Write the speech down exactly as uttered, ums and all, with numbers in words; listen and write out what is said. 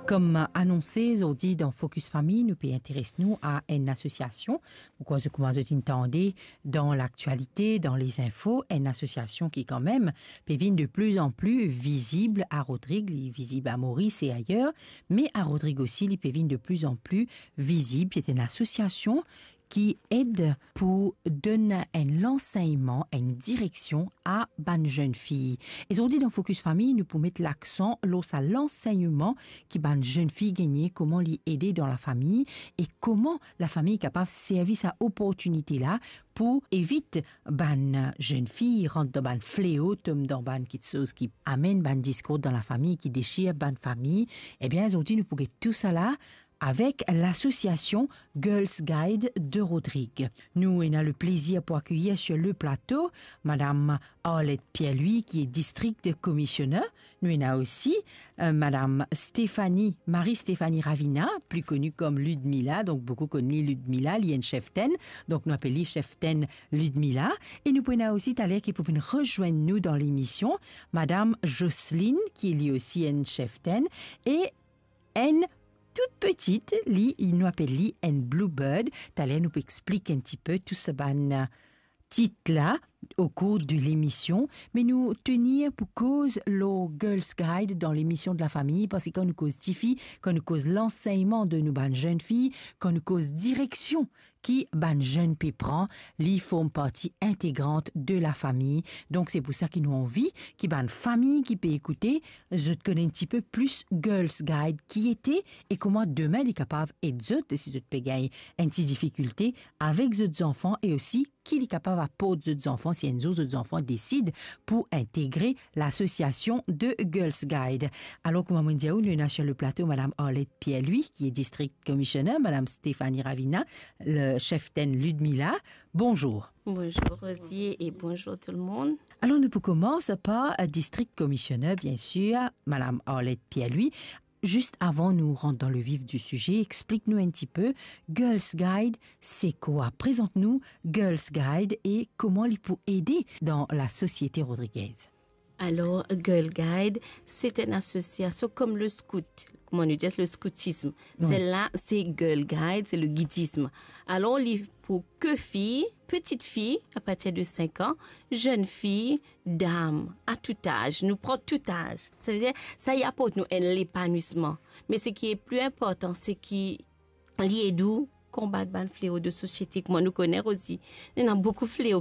Kouma anonse, zordi dan Focus Famille, nou pe interes nou a enn asosiasion. Pou kouma zot inn tande dan laktialite, dan lezinfo, enn asosiasion ki kanmem pe vinn de pli an pli vizib a Rodrig, li vizib a Moris e ayer, me a Rodrig osi, li pe vinn de pli an pli vizib. Se enn asosiasion ki ed pou donn enn lansegnman, enn direksion a bann zenn fi. E zordi dan Focus Famille, nou pou met laksan lor sa lansegnman ki bann zenn fi gagne, kouma li ede dan lafami e kouma lafami kapav servi sa oportinite la pou evit bann zenn fi rant dan bann fleo, tom dan bann kiksoz ki amenn bann diskord dan lafami, ki desir bann fami. Ebien, zordi nou pou get tousala avek lasosiasion Girls Guide de Rodrig. Nou ena le plezir pou akeyir sur le plato Madam Arlette Pierre-Louis, ki est District Commissioner. Nou ena osi, euh, Madam Stéphanie, Marie-Stéphanie Ravina, pli koni kom Ludmila, donk boukou konn li Ludmila, li enn cheftenn, donk nou apel li cheftenn Ludmila. E nou pou ena osi taler ki pou vinn rezwenn nou dan lemision, Madam Jocelyne, ki li osi enn cheftenn, e enn tou piti, li, nou apel li enn bluebird. Taler nou pou explik enn tipe tou sa bann, euh, tit la o kour de lemision, me nou tenir pou koz lor Girls Guide dan lemision de lafami, parski kan nou koz tifi, kan nou koz lansegnman de nou bann zenn fi, kan nou koz direksion ki bann zenn pe pran, li form parti integrant de lafami. Donk, se pou sa ki nou anvi ki bann fami ki pe ekoute, zot konn enn tipe plis Girls Guide ki ete e kouma demin li kapav ed zot, si zot pe gagn enn ti difikilte avek zot zanfan e osi ki li kapav aport zot zanfan si enn zour zot zanfan desid pou integre lasosiasion de Girls Guide. Alor, kouma mo dir ou, nou ena sur le plato Madam Arlette Pierre-Louis, ki est District Commissioner, Madam Stéphanie Ravina, le cheftenn Ludmila. Bonzour. Bonzour Rosie e bonzour tou lemonn. Alor, nou pou koumans par, euh, District Commissioner, bien sir, Madam Arlette Pierre-Louis. Zis avan nou rant dan le vif di size, explik nou enn tipe, Girls Guide, se kwa? Prezant nou Girls Guide e kouma li pou ede dan lasosiete rodrigez. Alor, Girl Guide, se enn asosiasion kom le skout, kouma nou dir, le skoutism. Wi. Sela, se Girl Guide, se le gidism. Alor, li pou ke fi, pitit fi, a partir de sink an, zenn fi, dam, a tout az, nou pran tout az. Savedir, sa li aport nou enn lepanwisman. Me seki pli inportan, seki li ed ou konbat bann fleo de sosiete. Kouma nou kone, Rosie, ena boukou fleo